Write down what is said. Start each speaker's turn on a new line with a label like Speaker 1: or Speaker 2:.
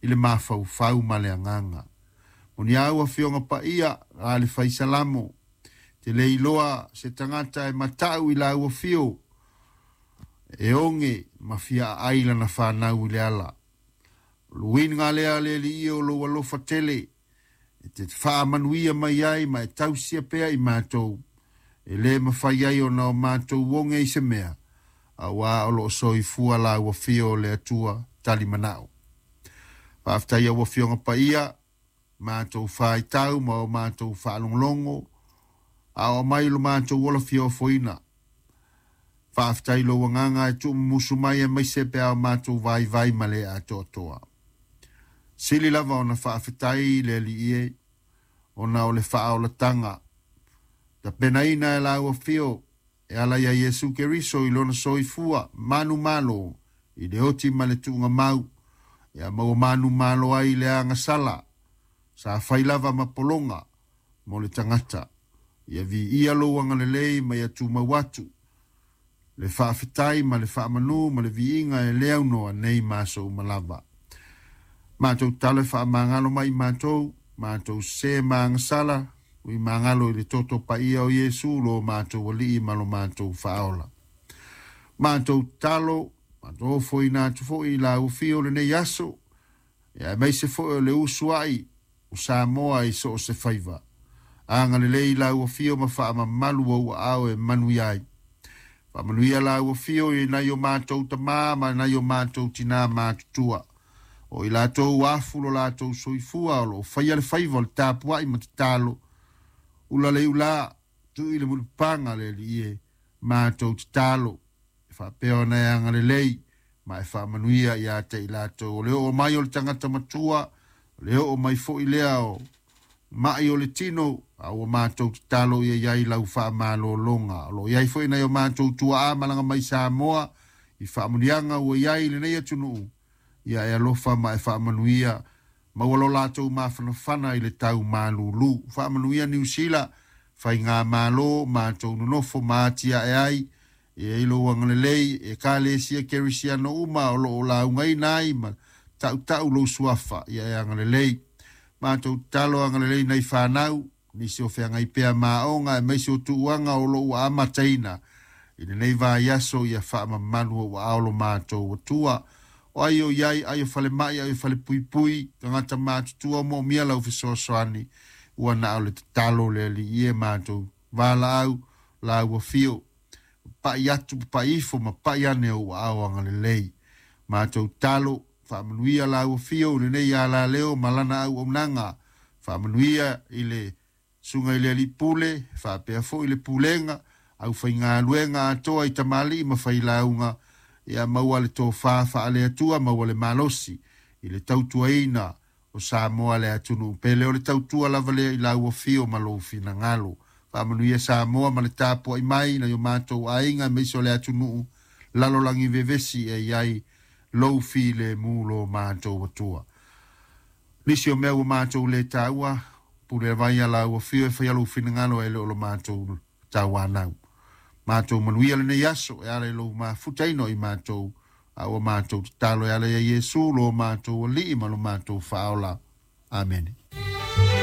Speaker 1: i le mafaufau ma le agaga. Moniau Afioga Paia a le Faisalamo, te le iloa se tagata e matau i lau afio, e oge ma fia aai lana fanau i le ala. O le uiga lea le Alii o lou alofa tele, e te faamanuia mai ai ma e tausia pea i matou, e le mafai ai ona o matou oge i se mea, auā o lo o soifua lau afio o le Atua talimanao. Faafetai au Afioga Paia, matou faitau ma o matou faalogologo, a o aumai lo matou ola fia ofoina. Faafetai lou agaga e tuumumusu mai aemaise pe a o matou vaivai ma le atoatoa. Sili lava ona faafetai le Alii e, ona o le faaolataga tapenaina e lau afio e ala ia Iesu Keriso i lona soifua manumalo i le oti ma le tuugamau, ia maua manumalo ai le agasala sa fai lava ma pologa mo le tagata. Ia viia lou agalelei ma ia tumau atu le faafetai ma le faamanu ma le viiga e le aunoa nei ma aso uma lava. Matou tatalo e faamagalo mai i matou, matou sese ma agasala, ui magalo i le toto paia o Iesu lo matou Alii ma lo matou Faaola. Matou tatalo, matou ofoina atu foi i lau afio lenei aso, ia aemaise foi o le usuai o Samoa i so o se faiva. Agalelei lau afio ma faamamalu ou aao e manuia ai. Faamanuia lau afio i nai o matou tamā ma nai o matou tinā matutua. O i latou afu lo latou soifua o lo o faia le faiva o le tapuai ma tatalo. Ula le iulā, tuu i le mulipapaga le Alii e, matou tatalo. E faapea ona e agalelei ma e faamanuia ia te i latou. O le oo mai o le tagata matua, o le oo mai foi lea o mai o le tino, a ua matou tatalo ia i ai lau faamalologa. O lo o i ai foi nai o matou tuaa malaga mai Samoa i faamanuiaga ua i ai i lenei atunuu, ia e alofa ma e faamanuia, maua lo latou mafanafana i le tau malulu. Faamanuia Niu Sila, faigamalo, matou nonofo ma atiae ai, e ai lou agalelei, ekalesia kerisiano uma o lo o laugaina ai ma tautau lou suafa, ia e agalelei. Matou tatalo agalelei nai fanau, nisi o feagai pea ma aoga aemaise o tuuaga o lo o ua amataina i lenei vaiaso, ia faamamalu o ua ao lo matou Atua. O ai o iai, ai o falemai, ai o falepuipui, tagata matutua o moomia lau fesoasoani, ua na o le tatalo le Alii e matou valaau lau afio. Papai atu, papai ifo ma pai ane o ua ao agalelei. Matou tatalo, faamanuia lau afio i lenei alaleo ma lana auaunaga. Faamanuia i le susuga i le Alii Pule, faapea foi le pulega, aufaigaluega atoa i tamalii ma failauga, ia maua le tofa faale-Atua, maua le malosi i le tautuaina o Samoa le atunuu pele. O le tautua lava lea i lau afio ma lou finagalo. Faamanuia Samoa ma le tapuai mai nai o matou aiga aemaise o le atunuu lalolagi vevesi e i ai lou filemu lo matou Atua. Nisi o mea ua matou le taua, pule vai a lau afio e faia lou finagalo e le o lo matou tauanau. Matou manuia lenei aso e ala i lou mafutaina o i matou, a ua matou tatalo e ala ia Iesu lo matou Alii ma lo matou Faaola. Amene.